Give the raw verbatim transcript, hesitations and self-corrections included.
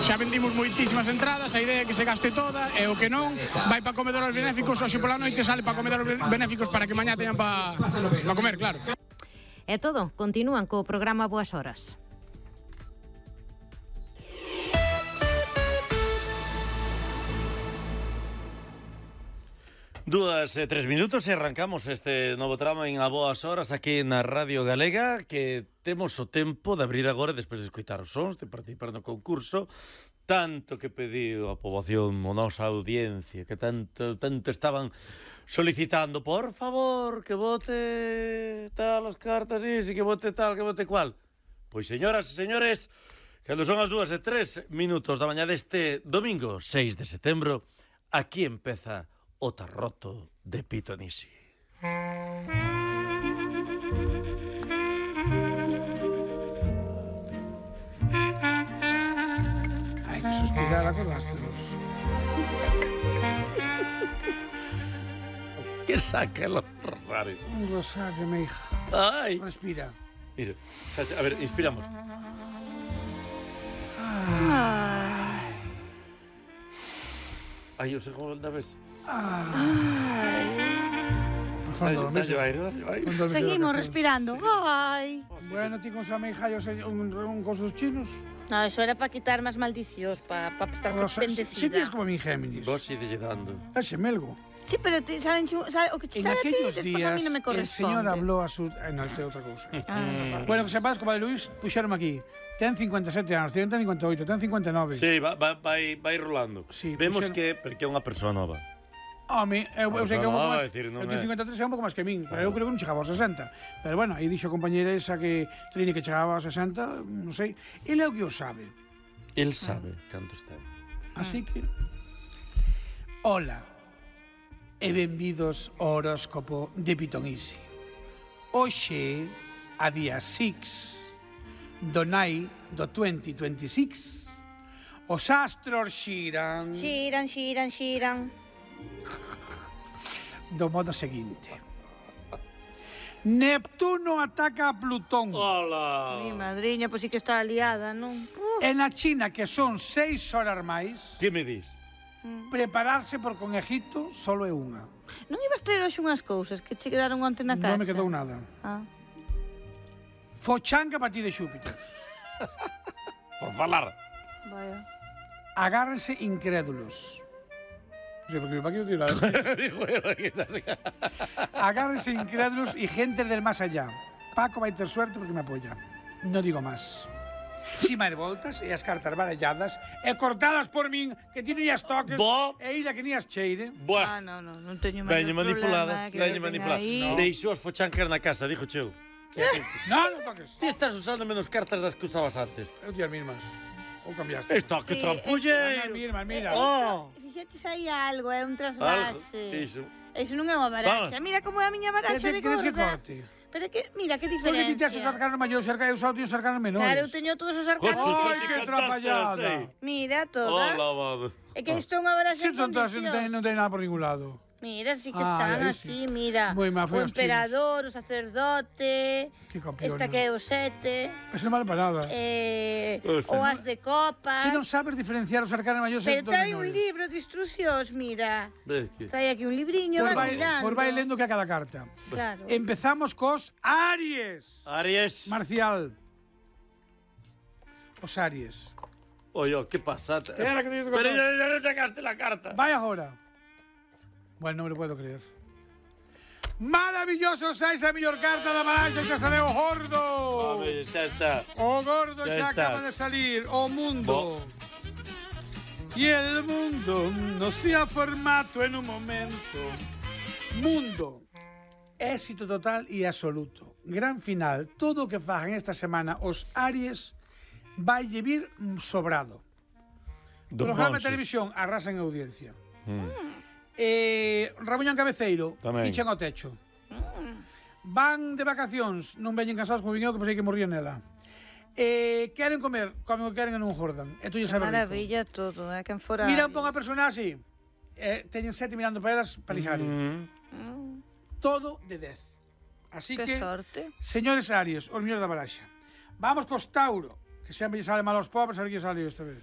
xa vendimos moitísimas entradas, a idea é que se gaste toda, e o que non, vai para comedores benéficos, hoxe pola noite sale para comedores benéficos para que mañá teñan para pa comer, claro. É todo, continúan co programa Boas Horas. Dúas e tres minutos e arrancamos este novo tramo en A Boas Horas aquí na Radio Galega, que temos o tempo de abrir agora despois de escoitar os sons, de participar no concurso, tanto que pediu a poboación, a nosa audiencia, que tanto tanto estaban solicitando, por favor, que vote tal as cartas, e que vote tal, que vote cual. Pois, señoras e señores, cando son as dúas e tres minutos da mañá deste domingo seis de setembro, aquí empeza o Tarroto de Pitonisi. Hai que suspirar, acordástelos. Que saca el rosario. Un rosario, mi hija. Ai. Respira. Mira, a ver, inspiramos. Ay. Ai, o segunda vez. Ay. Seguimos respirando. Ay. Bueno, ti con su amiga yo sé un, un con sus chinos. No, eso era para quitar más maldicións, para pa estar Rosa, bendecida. si tienes como mi Géminis. Vos sigue dando. Es melgo. Sí, pero te saben, sabe, o que te En sabe a ti, aquellos despois a días mí no me el corresponde. señor habló a su... Ay, no, esto es otra cosa. Ah, Bueno, que sepas, como de Luis, puxeron aquí. Ten cincuenta e sete anos, ten cincuenta e oito, ten cincuenta e nove. Sí, va, va, vai, vai rolando. Sí, vemos puxeron... que, porque é unha persoa nova. Home, eu, eu sei que é un pouco máis... Decir, non eu tenho é. cincuenta e tres é un pouco máis que min, pero eu creo que non chegaba aos sesenta. Pero bueno, aí dixo a compañera esa que Trini que chegaba aos sesenta, non sei. Ele é o que o sabe. El sabe cantos ten. Así que... Hola, e benvidos ao horóscopo de Pitonisi. Hoxe, a día seis do nai do vinte veintiséis, os astros xiran xiran, xiran, xiran. do modo seguinte. Neptuno ataca a Plutón. Hola. Mi madriña, pois sí que está aliada, non? E na China, que son seis horas máis, Que me dis? prepararse por con Egipto solo é unha. Non ibas ter hoxe unhas cousas que che quedaron onte na casa? Non me quedou nada. Ah. Fochanga para ti de Xúpiter. Por falar. Vaya. Agárrense incrédulos. Non sei, porque para que eu digo nada. Dijo eu aquí. Agárrense incrédulos y gente del más allá. Paco vai ter suerte porque me apoya. No digo más. Si máis voltas e as cartas baralladas e cortadas por min, que ti ni as toques, Bo. e ida que ni as cheire. Ah, Buah. no, no, non teño Veño máis manipuladas, problema, que veño eu teña manipuladas. aí. No. Deixou as fochancas na casa, dijo cheu. No, non toques. Ti estás usando menos cartas das que usabas antes. Eu ti as mismas. Ou cambiaste. Esto, que Sí, trampulleiro. As mismas, mira. Oh. Fixetes aí algo, é un Algo. trasvase. Iso. Eso non é unha baraxa. Vamos. Mira como é a miña baraxa de Queres que gorda. corte? Pero que, mira, que Porque diferencia. ti tes os arcanos maiores cerca e eu só teño os arcanos menores. Claro, eu teño todos os arcanos. Joder, Ai, tú que te cantaste, atrapallada. sí. Mira, todas. Hola, vado. É que isto é unha baraxa Si en son todas, non ten, condicións. non ten nada por ningún lado. Mira, sí que Ai, están aí aquí, sí. mira. Moi má, foi O aos emperador, o sacerdote, Que campeona. esta que é o sete, Eso non vale para nada. eh, O sea, o as de copas. Se non sabes diferenciar os arcanos maiores Pero dos trae un menores. libro de instruccións, mira. Ves que... Trae aquí un libriño, Pois vas vai, mirando. pois vai lendo que a cada carta. Claro. Empezamos cos Aries. Aries. Marcial. Os Aries. Oye, ¿qué pasa? Espera, que te digo que Pero no. ya, ya no sacaste la carta. Vai agora. Bueno, non me lo puedo creer. Maravilloso, sais a mellor carta da baraxa, xa sale o gordo. A ver, xa está. O gordo Ya xa está. acaba de salir. O mundo. Y el mundo no se ha formado en un momento. Mundo. Éxito total e absoluto. Gran final. Todo o que fagan esta semana os Aries vai vir sobrado. Dos Programa de monxes. televisión arrasan en audiencia. Mm. Eh, Rabuñán Cabeceiro, Tamén. fichan ao techo. Van de vacacións, non veñen cansados como viñeu que pensei que morría nela. Eh, queren comer, comen o que queren e non jordan. E tú lle sabes rico. Maravilla todo, é quen fora. Mira un pouco a personaxe. Eh, teñen sete mirando para elas para lijar. Mm. Mm, Todo de dez. Así que que, sorte. señores Aries, os mellores da baraxa. Vamos cos Tauro, que sempre lle sale mal aos pobres, a ver que sale esta vez.